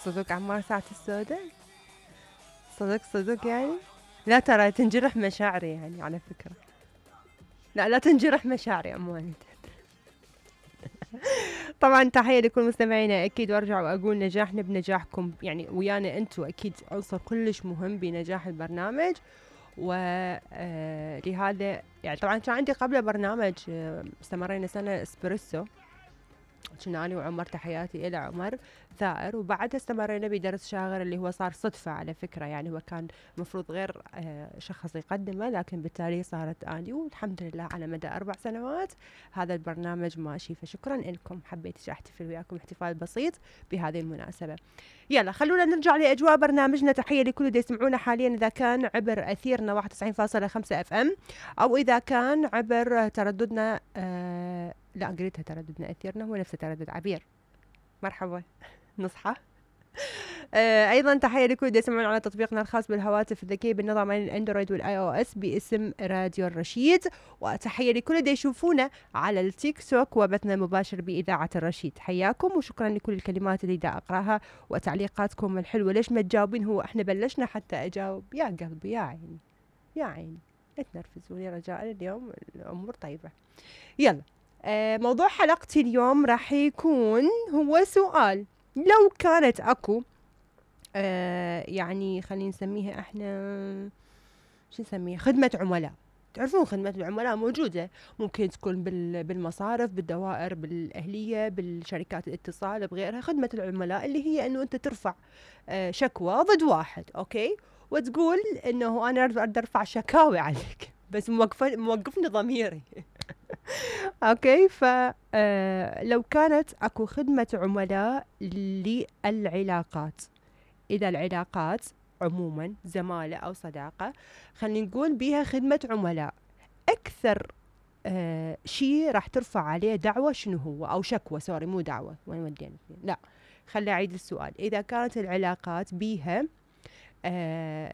صدق عمار ساعة السوداء؟ صدق يعني؟ لا ترى تنجرح مشاعري يعني على فكرة. لا تنجرح مشاعري عموما. طبعا تحية لكل مستمعينا أكيد، وارجع وأقول نجاحنا بنجاحكم، يعني ويانا أنتوا أكيد عنصر كلش مهم بنجاح البرنامج. ولهذا يعني طبعا كان عندي قبل برنامج استمرينا سنة اسبريسو، كنا أنا وعمر، تحياتي إلى عمر ثائر، وبعدها استمرينا بدرس شاغر اللي هو صار صدفة على فكرة، يعني هو كان مفروض غير شخص يقدمه، لكن بالتالي صارت أني، والحمد لله على مدى 4 سنوات هذا البرنامج ماشي. فشكرا لكم، حبيت أحتفل وياكم احتفال بسيط بهذه المناسبة. يلا خلونا نرجع لأجواء برنامجنا. تحية لكل اللي يسمعونا حاليا إذا كان عبر أثيرنا 91.5 FM، أو إذا كان عبر ترددنا لا قريتها ترددنا أثيرنا هو نفسه تردد عبير. مرحبا نصحى. ايضا تحيه لكل اللي يسمعون على تطبيقنا الخاص بالهواتف الذكيه بالنظام الاندرويد والاي او اس باسم راديو الرشيد، وتحيه لكل اللي يشوفونا على التيك توك وبثنا المباشر باذاعه الرشيد. حياكم وشكرا لكل الكلمات اللي دا اقراها وتعليقاتكم الحلوه. ليش ما تجاوبين؟ هو احنا بلشنا حتى اجاوب. يا قلبي يا عيني يا عيني، لا تنرفزوني رجاء، اليوم الامور طيبه. يلا موضوع حلقتي اليوم راح يكون هو سؤال: لو كانت اكو يعني خلينا نسميها احنا شو نسميها، خدمة عملاء. تعرفون خدمة العملاء موجودة، ممكن تكون بالمصارف، بالدوائر، بالأهلية، بالشركات الاتصال، بغيرها. خدمة العملاء اللي هي انه انت ترفع شكوى ضد واحد، اوكي، وتقول انه انا اقدر ارفع شكاوي عليك بس موقفني ضميري. اوكي، لو كانت اكو خدمة عملاء للعلاقات، اذا العلاقات عموما زمالة او صداقة خلينا نقول بيها خدمة عملاء، اكثر شيء راح ترفع عليه دعوة شنو هو؟ او شكوى، سوري مو دعوة، وين ودينا؟ لا خلي اعيد السؤال. اذا كانت العلاقات بيها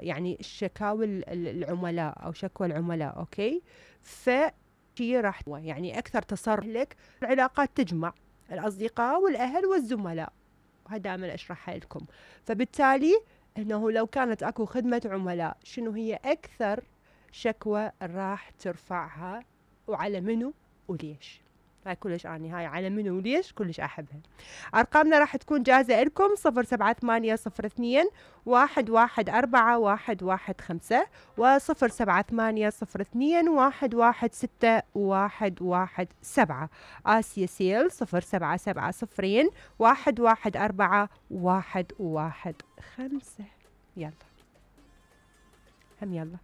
يعني شكاوي العملاء او شكوى العملاء، اوكي، شيء راح يعني اكثر تصرف لك. العلاقات تجمع الاصدقاء والاهل والزملاء، وهذا دائما اشرحها لكم. فبالتالي انه لو كانت اكو خدمة عملاء، شنو هي اكثر شكوى راح ترفعها وعلى منو وليش؟ هاي كلش هاي على منو وليش كلش احبها. ارقامنا راح تكون جاهزة لكم: 07802 114 115 و07802 116 آسيا سيل 0770 114 115. يلا هم يلا.